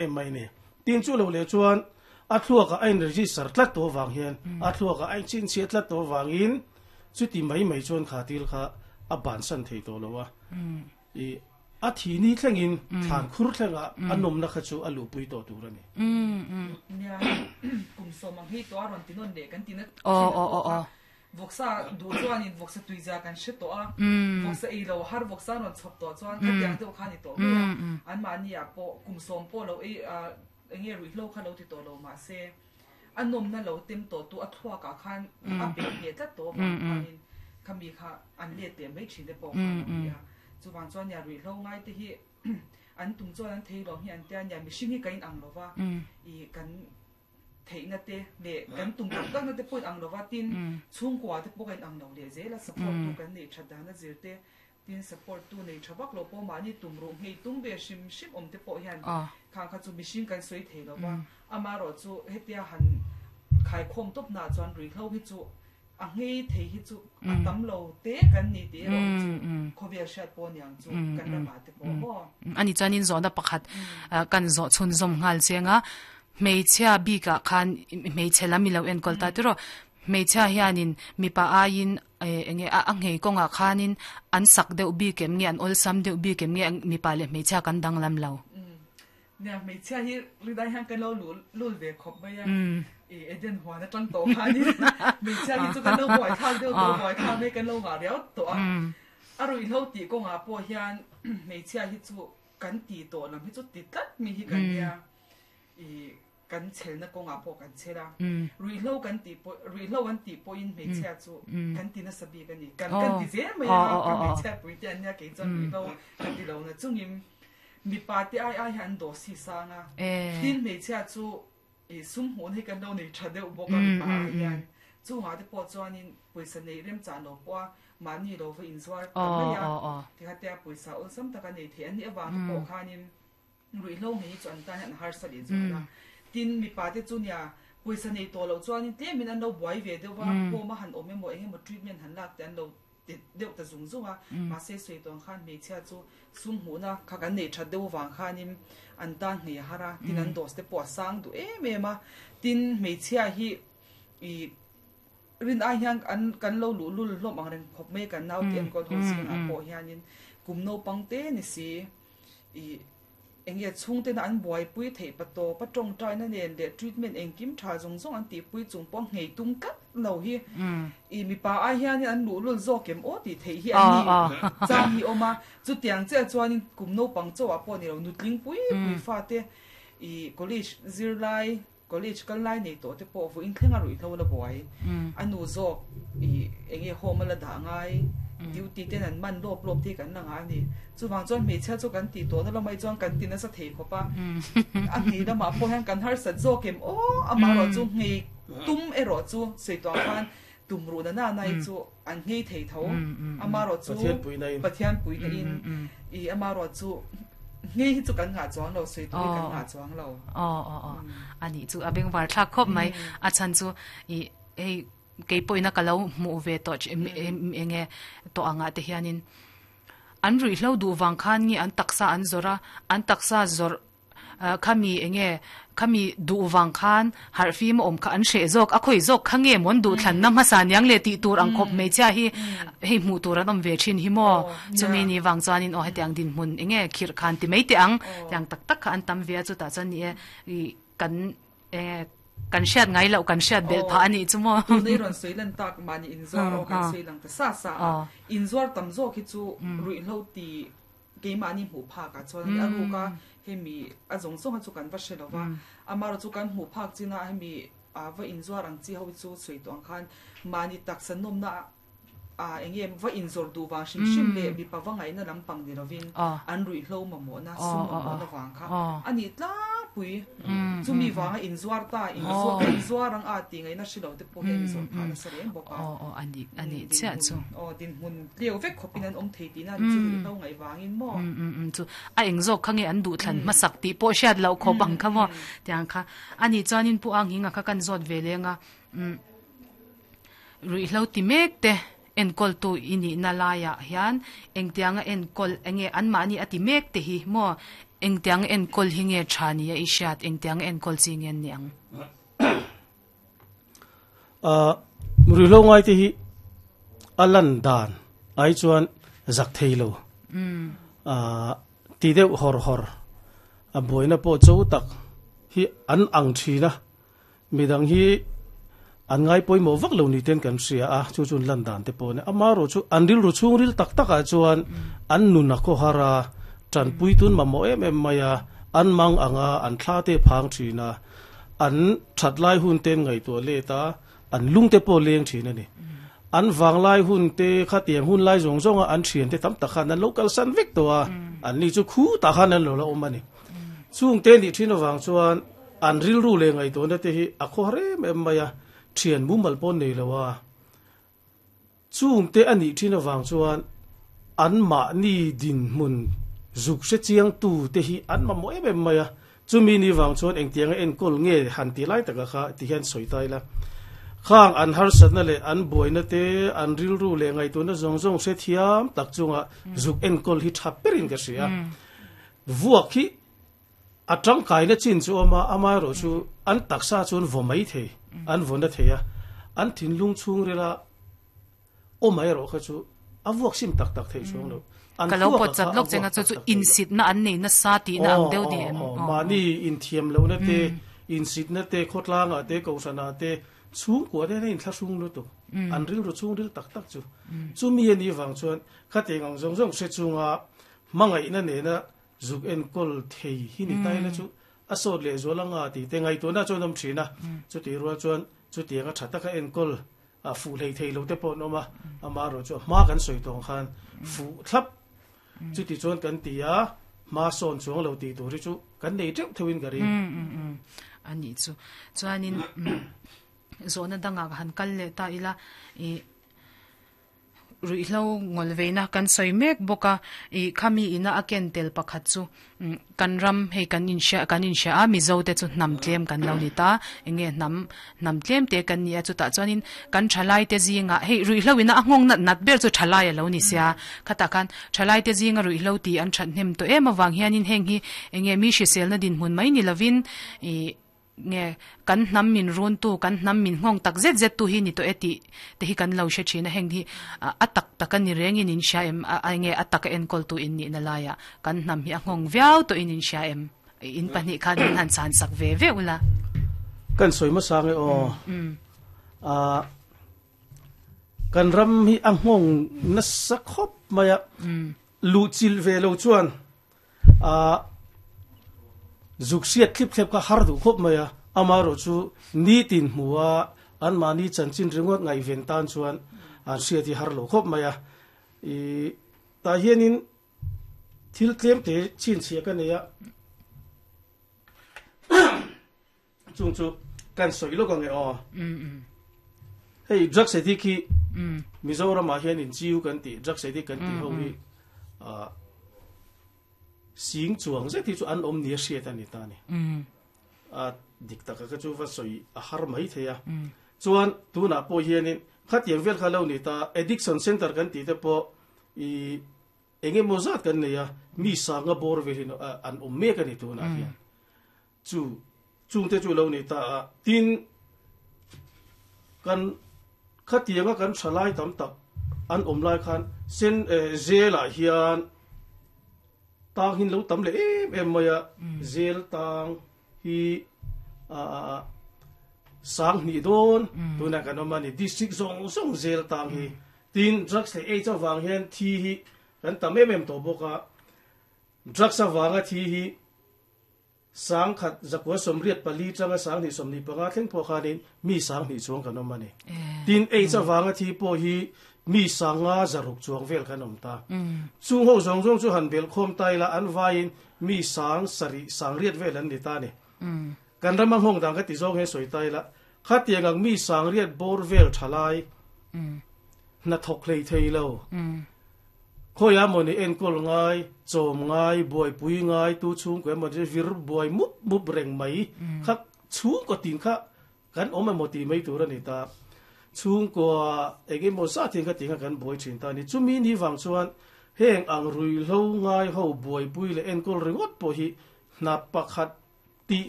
Em mai ni. Tin chu lo leh chuan a thluakah a in register tlat tawh avang hian a thluakah a in chhinchhiah tlat tawh avangin chuti mai mai chuan kha thil kha a bansan thei tawh lo a. I a thi ni thlengin thlan khur thlengah a nawmna kha chu a luhpui tawh tur a ni. Nia, kum sawm ang hei tawh a rawn ti nawn leh kan ti na thin a pawh kha. Vawksa duh chuanin vawksa tuizia kan hre tawh a, vawksa ei lo har vawksa an rawn chhawp tawh chuan khatiang deuh kha a ni tawh mai a, anmahniah pawh kum sawm pawh lo ei eng nge ruihhlo kha lo ti tawh lo mahse a nawmna lo tem tawh tu a thluakah khan a peih hneh tlat tawh avang khanin khami kha an let leh mai thin te pawh kha a lo ni a. Chuvang chuan nia ruihhlo ngai te hi an tum chuan an thei lo hi an tia nia mihring hi ka inang lo va, ih kan theihna te leh kan tum tak takna te pawh in ang lova, tin chhungkua te pawh ka in ang lo leh zel a, support tu kan neih that dana zir te, tin support tu nei tha vak lo pawh mahni tum ruh nghei tum ve hrim hrim awm te pawh hian khang kha chu mihring kan sawi thei lova, amaherawh chu hetia han khaikhawm tawp hna chuan ruihhlo hi chu A nghei thei hi chu a tam lo te kan ni tih erawh hi chu khawvel hriat pawh niang chu kan ramah te pawh maw. Ani chuanin zawhna pakhat kan zawh chhunzawm nghal chiang a, hmeichhia bikah khan hmeichhe lam i lo enkawl ta tiraw, hmeichhia hianin mipa aiin eng nge a nghei kawngah khanin an sak deuh bik em nge an awlsam deuh bik em nge mipa leh hmeichhia kan danglam lo. Nia, hmeichhia hi ridai hian kan lo lul ve khawp mai a, i Eden huan atang tawh khanin hmeichhia hi chu kan lo buai thlak deuh tawh, buai thlak mai kan lo ngah riau tawh a. A ruihhlo tih kawngah pawh hian hmeichhia hi chu kan ti tawh lam hi chu ti tlat mi hi kan nia, i kan chhelna kawngah pawh kan chhel a, ruihhlo kan tih pawh, ruihhlo an tih pawhin hmeichhia chu kan ti nasa bik a ni, kan kan ti zel mai a, ka hmeichhia pui te an nia kei chuan ruihhlo ka ti lo na chungin Mipa te ai ai hian an dawh si sang a, tin hmeichhia chu i sum hmuhna hi kan lo nei tha deuh bawk a mipa ah hian. Chungah te pawh chuanin pawisa neih remchah lo pawh a mahni lo va inzuar ta mai a, tikhatia pawisa awlsam taka nei thei an nih avang te pawh khanin ruihhlo ngei hi chu an tan hian a harsa leh zual a. Tin mipa te chu nia pawisa nei tawh loh chuanin tlemin an lo buai ve deuh a, home a han awm emaw eng emaw treatment han lak te an lo ti deuh ta zung zung a, mahse sawi tawng khan hmeichhia chu sum hmuhna kha kan neih that deuh avang khanin an tan nghei a har a, tin an dose te pawh a sang duh em em a, tin hmeichhia hi ih rin ai hian an kan lo luh lul hlawm ang reng khawp mai kan naute enkawl ho zingah pawh hianin kum naupang te ni si ih Eng nge chhungtena an buaipui theih pa tawp a tawngtaina nen leh treatment engkim tha zawng zawng an tihpui chung pawh nghei tum tlat lo hi i mipa ai hianin an luhlul zawk em aw tih theih hi an ni chang hi awm a, chutiang chiah chuanin kum naupang chauhah pawh ni lo nutling pui pui fate i college zirlai college kal lai nei tawh te pawh vawiin thleng a ruihhlo la buai a nu zawk ih eng nge home a la dah ngai duty ten an man lawp lawp te hi kan la ngah a ni chuvang chuan hmeichhia chu kan tih tawhna lamah hi chuan kan ti nasa thei khawp a a nghei lamah pawh hian kan harsat zawk em aw amaherawh chu nghei tum erawh chu sawi tuah khan tum ruh na na hi chu an nghei thei tho amaherawh chu Pathian puina in ih amaherawh chu nghei hi chu kan ngah chuang lo sawi tur hi kan ngah chuang lo. Aw aw aw a nih chu a bengvar thlak khawp mai a chhan chu ih hei kei pawhin a ka lo hmuh ve tawh eng nge tawh angah te hianin an ruihhlo duh vang khan nge an taksa an zawrh a an taksa zawrh Khami enge khami duh vang khan harh fim a awm kha an hreh zawk a khawi zawk kha nge mawn duh thlanna hmasa niang le tih tur ang khawp hmeichhia hi hei hmuh tur an awm ve thin hi maw chumi ni vang chuanin aw hetiang dinhmun enge khirh khan ti mai teh ang tiang tak tak kha an tam ve a chutah chuan ni e ih kan enge kan hriat ngai loh kan hriat belh phah a nih chu maw. Tuna i rawn sawi lan tak mahni inzuar aw kan sawi lang ta sa sa a inzuar tam zawk hi chu ruihhlo ti Keimahni hmuh phakah chuan a ruk a, hemi a zawng zawng a chu kan va hre lo va, amaherawh chu kan hmuh phak chin a hemi a va inzuar ang chi ho hi chu sawi tawh ang khan mahni taksa nawmna a eng nge va inzawr duh vang hrim hrim leh mipa va ngaihna lampang ni lovin an ruihhlo mamawhna sum mamawhna vang kha a nih tlangpui. Chumi vanga inzuar ta, inzuar ang a tih ngaihna hre lo te pawh hian inzawr phah nasa reng bawk a. Aw aw a nih a nih chiah chu. Aw dinhmun tleu vek khawpin an awm thei tihna an chu ruihhlo ngaih vangin maw? Um um chu a eng zawk kha nge an duhthlan hmasak tih pawh hriat loh khawp ang kha maw? Tiang kha a nih chuanin Pu Ang Hinga kha kan zawt ve leng a, um ruihhlo ti mek te. Enkawltu i nihna laiah hian engtianga enkawl enge anmahni a ti mek te hi maw engtianga enkawl hi nge tha nia i hriat engtianga enkawl chi nge an ni ang? Ahh ruihhlo ngai te hi a lan dan ai chuan zak thei lo ahh ti deuh hawr hawr a buaina pawh cho tak hi an ang thin a. Midang hi an ngai pawimawh vak lo ni ten kan hria a, chu chu an lan dan te pawh a ni. Amaherawh chu an rilru chhungril tak takah chuan an nun a khawhar a, tanpui tun mamawh em em mai a, an mang ang a, an thla te phang thin a, an that lai hun te an ngaihtuah let a, an lung te pawh leng thin a ni. An vanglai hun te khatiang hun lai zawng zawnga an thian te tam tak khan an lo kalsan vek tawh a, an ni chu khutah khan an lo la awm a ni. Chungte nih thin avang chuan an rilru leh ngaihtuahna te hi a khawhar em em mai a, thian mumal pawh nei lo a. Chungte a nih thin avang chuan an mahni dinhmun zuk hre chiangtu te hi an mamawh em em mai a. Chumi ni vang chuan engtianga enkawl nge han ti lai taka kha ti hian sawi ta ila. Khang an harsatna leh an buaina te, an rilru leh ngaihtuahna zawng zawng hre thiam tak chunga zuk enkawl hi tha berin ka hria. Vuak hi a tangkaina chin chu a awm a, amaherawh chu an taksa chu an vaw mai thei, an vaw na thei a, an thinlung chhungrila awm erawh kha chu a vuak sim tak tak thei chuang lo. An Ka lo thluak pawt a chat kha a lawk cheng a vuak chu tak chu tak thei lo. insitna an nei nasa tihna ang Aw, deuh ni aw, em? aw, Aw, mahni inthiamlohna te, insitna te, khawtlangah te, kohhranah te, chhungkua te hian a inthlahrung lutuk. An rilru chhungril tak tak chu. Chumi a nih vang chuan khatiang ang zawng zawng hre chunga Hmangaihna nena zuk enkawl thei hi ni ta ila chu a sawt leh zual anga tih te ngaihtuahna chuan awm thin a, chutih rual chuan chutianga tha taka enkawl a fuh hlei thei lo te pawh an awm a, amaherawh chu a hma kan sawi tawng khan fuh thlap chuti chuan kan ti a, hma sawn chuang lo tih tur hi chu kan nei teuh theuhin ka ring. A nih chu. Chuanin zawhna dangah ka han kal leh ta ila ih. Ruihhlo ngawlveina kan sawi mek bawk a, ih khami ina a ken tel pakhat chu kan ram hei kan inhria kan inhria a, Mizo te chu hnam tlem kan lo ni ta, eng nge hnam hnam tlem te kan ni a, chutah chuanin kan thalai te zingah hei ruihhlo ina a nghawng nat nat ber chu thalai a lo ni sia, khatah khan thalai te zinga ruihhlo tih an that hnem tawh em avang hianin heng hi eng nge mi hriselna dinhmun mai ni lovin ih Nge, kan hnam min runtu, kan hnam min nghawng tak zet zet tu hi ni tawh e tih te hi kan lo hre thin a, heng hi a tak tak a ni rengin in hria em? A nge a taka enkawltu in nihna laiah kan hnam hi a nghawng viau tawhin in hria em? In pahnih khan min han chhan sak ve ve ula. Kan sawi hmasa nge aw. A kan ram hi a nghawng nasa khawp mai a, luhchilh ve lo chuan A zuk hriat thlip thlep kha har duh khawp mai a, amaherawh chu nitin hmu a anmahni chanchin ringawt ngaihven tan chuan an hriat hi har lo khawp mai a. I tah hianin thil tlem te chhinchhiah ka nei a. Chung chu kan sawi lawk ang e aw. Hei drugs addict hi Mizoramah hian in chiu kan tih drugs addict kan tih ho hi sing chuang zet hi chu an awm nia hriat a ni ta ni. A dik taka ka chu va sawi a har mai thei a. Chuan tunah pawh hianin khatiang vel kha lo ni ta addiction center kan tih te pawh i eng emaw zat kan nei a, mi sanga bawr velin an awm mek a ni tunah hian. Chu chungte chu lo ni ta a, tin kan khatianga kan thalai tam tak an awm lai khan sen zelah hian tang hin lo tam leh em em mai a, zel tang hi a sang hnih dawn tunah kan awm a ni, district zawng zawng zel tang hi, tin drugs leh aids avang hian thi hi kan tam em em tawh bawk a, drugs avanga thi hi Sangkhat zakua sawmriat pali tanga sanghnih sawmhnih panga thleng pawh khanin mi sanghnih chuang kan awm a ni. Tin, AIDS avanga thi pawh hi mi sanga zaruk chuang vel kan awm ta. Chung ho zawng zawng chu han belh khawm ta ila an vaiin mi sang sarih sangriat vel an ni ta a ni. Kan rama nghawng dan ka ti zawng hian sawi ta ila, khatiang ang mi sangriat bawr vel tha lai hnathawk hlei thei lo. Khawiah maw ni enkawl ngai, chawm ngai, buaipui ngai, tu chhungkaw emaw ni vir buai mup mup reng mai kha chhungkaw tin kha kan awm emaw tih mai tur a ni ta. Chhungkua engemaw zat hian ka ti kha kan buai thin ta a ni. Chumi ni vang chuan heng ang ruihhlo ngai ho buaipui leh enkawl ringawt pawh hi hna pakhat tih